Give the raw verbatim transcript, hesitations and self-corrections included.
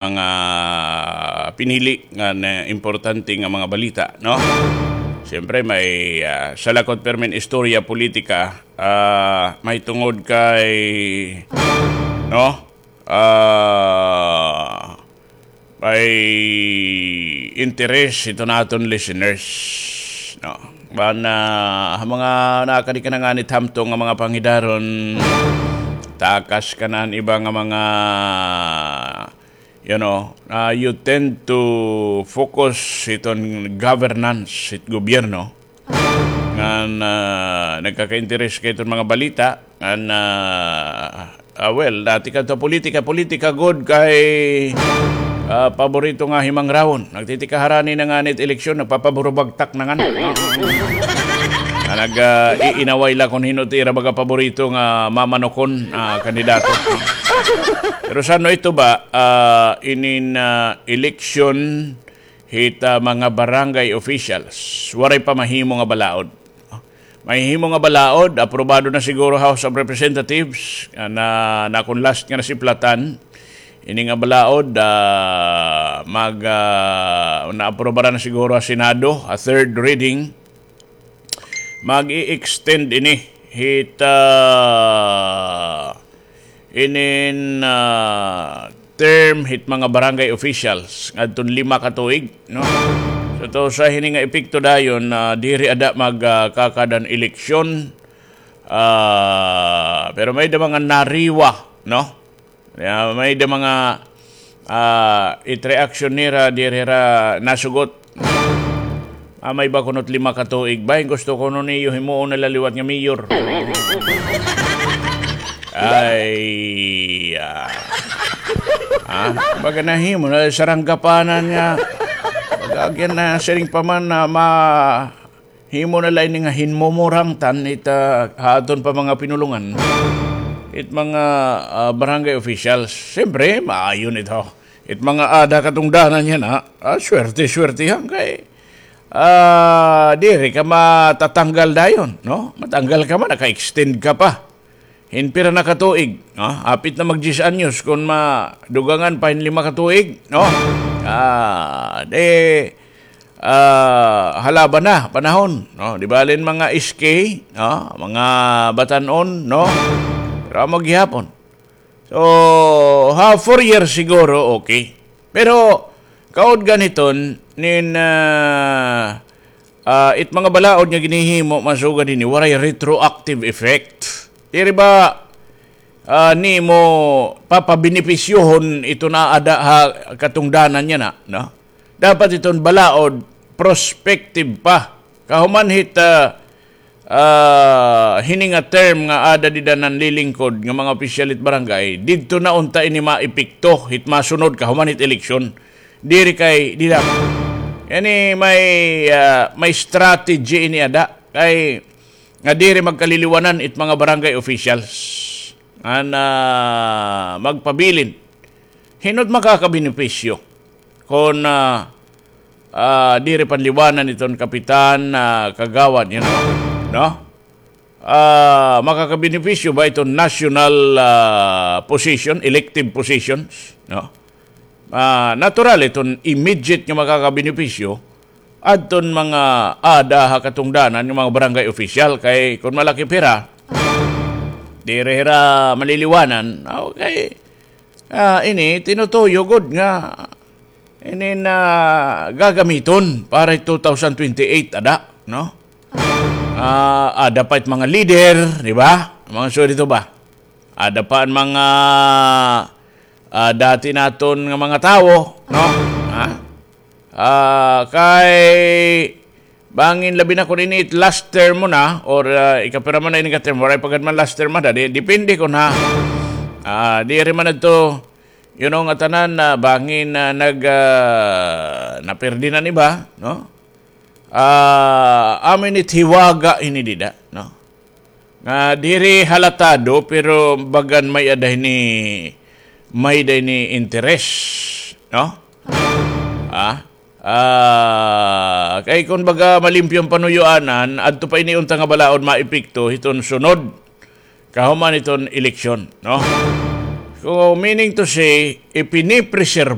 mga pinili nga na importante nga mga balita, no? Siyempre, may, ah, salakot pirmin istorya politika, ah, may tungod kay, no? Ah, may interes ito naton listeners, no? Ban, ah, ha mga nakadi ka na nga nit hamtong nga mga panghidaron, takas ka na an iba nga mga, you know, ah, you tend to focus hiton governance, hit gobyerno. Ngan, ah, nagkakainteres ka hiton mga balita, ngan, ah, ah, well, dati kadto politika, politika gud kay, ah, paborito nga himangrawon. Nagtitikaharani na nga nit eleksyon, nagpapaburubagtak na nga. Nga nag, ah, iinaway la kon hin-o it ira baga paborito nga mamanukon, ah, kandidato. Pero sa ano ito ba, ah, inin, ah, eleksyon hit, ah, mga barangay officials, waray pa mahimo nga balaod. Mahimo nga balaod, aprobado na siguro House of Representatives, ah, na, na kon last nga nasiplatan, ini nga balaod, ah, mag, ah, naaprobaran na siguro ha Senado, ha third reading. Mag-i-extend ini hit, ah, inin, ah, term hit mga barangay officials ngadton lima ka tuig, no? So, to sa hini nga epekto dayon, ah, diri ada mag, ah, kakad-an eleksyon, ah, pero may-ada mga nariwa, no? Ya, may-ada mga, ah, it reaction nira diri hira nasugot. Ah, may ba kuno it lima ka tuig ba? Gusto kuno niyo himuon na la liwat nga mayor. Ay, ah. Ah, baga nahimo na saranggapanan nga. Baga agyan na siring pa man na ma-, himo na la ini nga hinmumurangtan ita ha aton pa mga pinulongan. It mga, ah, barangay officials, siyempre, maayo ito. It mga ada katungdanan yana, ah, swerte-swertehan kay, ah, diri ka matatanggal dayon, no? Matanggal ka man, naka-extend ka pa. Hin pira na ka tuig, no? Hapit na mag diyes anyos, kon madugangan pa hin lima ka tuig, no? Ah, di, ah, halaban na panahon, no? Di bale hin mga S K, no? Mga batan-on, no? Pero amo gihapon. So, ha, four years siguro, okay. Pero, kaudgan hiton, nin, ah, ah, it mga balaod nga ginhihimo, masugad hini, waray retroactive effect. Diri ba, ah, nimo papabenepisyohon ito nga ada ha katungdanan yana, no? Dapat iton balaod, prospective pa. Kahuman hit, ah, ah, hini nga term nga ada dida nanlilingkod nga mga opisyal hit barangay, didto na unta ini maepekto hit masunod kahuman hit eleksyon. Diri kay dida. Ini may, ah, may strategy ini ada kay nga diri magkaliliwanan it mga barangay officials. An, ah, magpabilin. Hin-o it makakabenepisyo kon, ah, ah, diri panliwanan iton kapitan, ah, kagawad, you know, no? Ah, makakabenepisyo ba iton national, ah, position, elective positions, no? Ah, natural iton immediate nga makakabenepisyo adton mga ada ha katungdanan nga mga barangay official kay kon malaki pira, diri hira maliliwanan, okay. Ah, ini tinutuyo gud nga ini na gagamiton para two thousand twenty-eight ada, no? Ah, ada pa it mga leader, di ba? Mga so dito ba? Ada pa an mga, ah, dati naton nga mga tawo, no? Ha? Ah, kay bangin labi na kon ini it last term mo na, or, ah, ikapira man na ini ka term, waray pa gad man last term ada, di, depende kon ha. Ah, diri man adto, you know, nga tanan na bangin na nag, ah, napirdi na an iba, no? Ah, amo ini it hiwaga ini dida, no? Nga diri halatado, pero bagan may-ada hini, may-ada hini interes, no? Ah, ah, kay kon baga malimpyo an panuyoanan, adto pa ini unta nga balaod maepekto hiton sunod kahuman hiton eleksyon, no? So, meaning to say, ipinipreserba